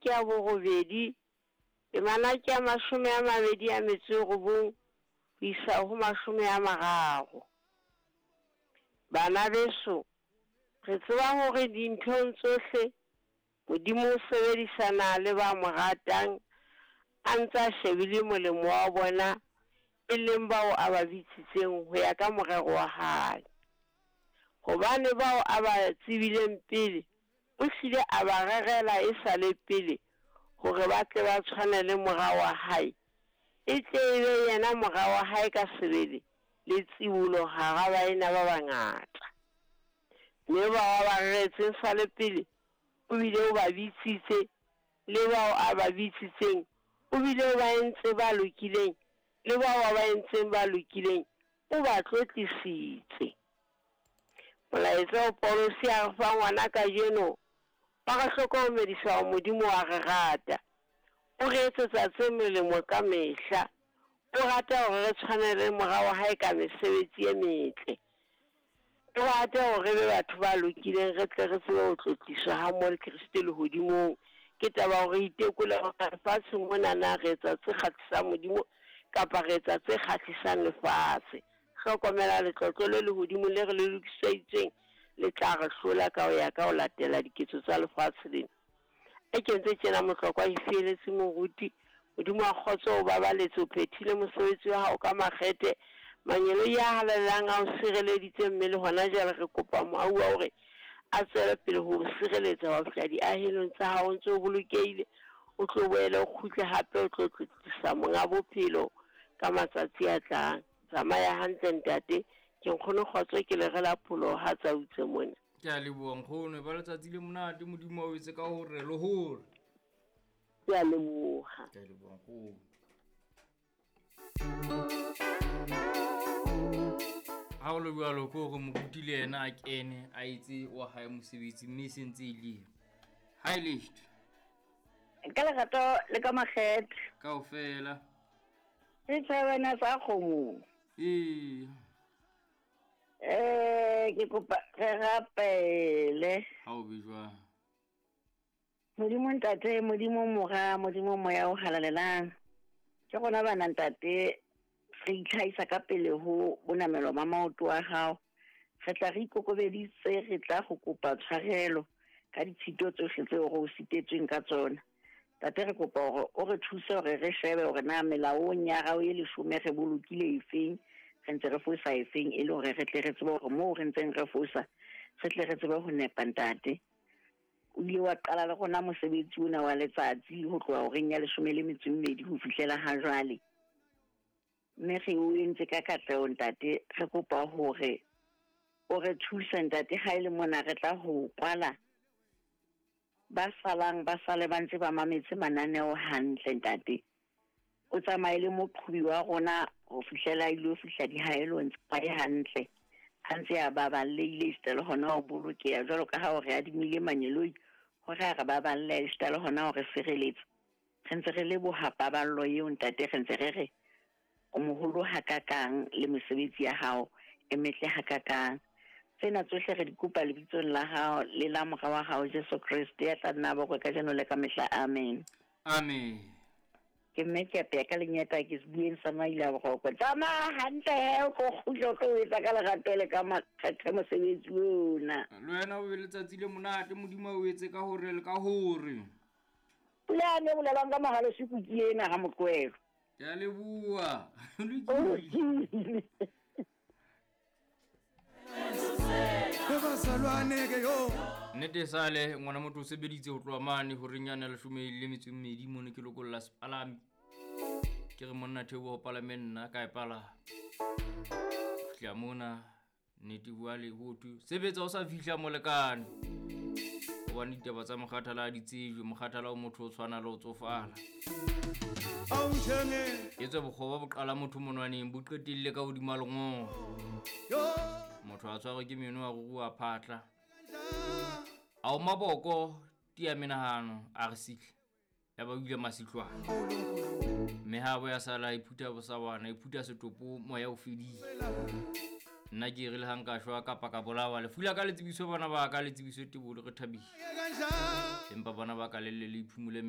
ke ya borobedi, temana ke ya 29 ho isa ho 30. Bana beso, re tseba hore dinthong tsohle Modimo o sebedisana le ba mo ratang, a ntse a shebile molemo wa bona, e leng bao a ba bitsitseng ho ya ka morero wa hae. Hobane bao a ba tsebileng pele, o hlile a ba rerela e sa le pele hore ba tle ba tshwane le mora wa hae, e tle e be yena mora wa hae ka sebele le tsibolo hara baena ba bangata. Mme bao a ba reretseng sa le pele, o bile o ba bitsitse, le bao a ba bitsitseng, o bile o ba entse ba lokileng, le bao a ba entseng ba lokileng, o ba tlotlisitse. Molaetsa o Paulosi a re fang wona kajeno, wa re hlokomedisa hore Modimo wa re rata. O re etsetsa tse molemo ka mehla. O rata hore re tshwane le mora wa hae ka mesebetsi e metle. O rata hore re be batho ba lokileng, re tle re tsebe ho tlotliswa ha mmoho le Kreste lehodimong. Ke taba hore re itekole hore lefatsheng mona na re etsa tse kgahlisang Modimo kapa re etsa tse kgahlisang lefatshe. Hlokomela letlotlo le lehodimo le re le lokiseditsweng le tla re hlola ka ho ya ka ho latela diketso tsa lefatshe lena. E kentse tjena Motlokwa e fieletse moruti, Modimo wa kgotso o babaletse, o phethile mosebetsi wa hao ka makgethe. Mangeloi a halalelang a o sireleditse, mme le hona jwale re kopa mohau wa hore a tswele pele ho o sireletsa ho fihla diahelong tsa hao o ntse o bolokehile, o tlo boele o kgutle hape o tlo tlotlisa monga bophelo ka matsatsi a tlang. Tsamaya hantle ntate, ke nkgono kgotso ke le rela pholoho ha tsa utse mona. Ke a leboha nkgono, e ba letsatsi le monate, Modimo a o etse ka hore le hore. Ke a leboha. Ke a leboha nkgono. Ha o le jwalo ke hore moruti le yena a kene a etse wa hae mosebetsi, mme e sentse e le ha e leshto ka lerato le ka makgethe kaofela. Ke tshebana sa kgomo. Ee. Ke kopa re rapele. Ha o be jwang? Modimo ntate, Modimo mora, Modimo moya o halalelang. Ke rona bana ntate, re itlhahisa ka pele ho bonamelo ba maoto a hao. Re tla re ikokobeditse, re tla go kopa tshwarelo ka ditshito tsohle tseo re o sitetsweng ka tsona. Ntate, re kopa hore o re thuse hore re shebe hore na melaong ya hao e leshome re bolokile efeng, re ntse re fosa efeng, e le hore re tle re tsebe hore moo re ntseng re fosa, re tle re tsebe ho nepa ntate. O ile wa qala le rona mosebetsi ona wa letsatsi ho tloha horeng ya 12 ho fihlela ha jwale. Mme re o entse ka katleho ntate, re kopa hore o re thuse ntate ha e le mona re tla ho kwala. Ba salang ba sale ba ntse ba mametse mananeo hantle ntate. O tsamaye le moqhobi wa rona ho fihlela ile fihla dihaelong tsa hae hantle. A ntse a babalehile esita le hona ho bolokeha jwalo ka ha o re adimile mangeloi hore a re baballe esita le hona ho re sireletsa. Re ntse re leboha paballo eo ntate, re ntse re re o moholo hakakang le mesebetsi ya hao e metle hakakang. Tsena tsohle re di kopa lebitsong la hao le la mora wa hao Jesu Kreste ya tla nna bokwe kajeno le ka mehla. Amen. Amen. Ke mme ke apeya ka lenyeta ke se bueng sa maila boroko. Tsamaya hantle he, o tlo kgutla o tlo etsa ka lerato le ka makgethe mosebetsi ona. Le wena o be letsatsi le monate, Modimo a o etse ka hore le ka hore. Pula ne bolelwang ka mohalo sekuki ena ha Moqwelo. Ke a leboha. Lokile. Nnete sale ngwana motho o sebeditse ho tloha mane horeng yane ya 12 mono ke lokolla sepalami. Ke re monna theoha ho palame nna ka e palama. Fihla mona nnete bua le ho thwe sebetsa o sa fihla molekane. Hobane ditaba tsa mokgathala ha di tsejwe, mokgathala o motho o tshwana le ho tsofala. Etswe bokgoba bo qala motho monwaneng bo qetelle ka hodima lengolo. Motho a tshwarwe ke meno a ruruha phatla. A o maboko tia menahano a re sihle. Ya ba o ile masihlwana. Mme ha bo ya sala iphutha bosawana, iphutha setopo moya o fedile. Nna ke re le ha nka shwa kapa ka bolawa, lefu la ka le tsebiso bana ba ka, le tsebiso tebolo, re thabile. Empa bana ba ka le le iphumule.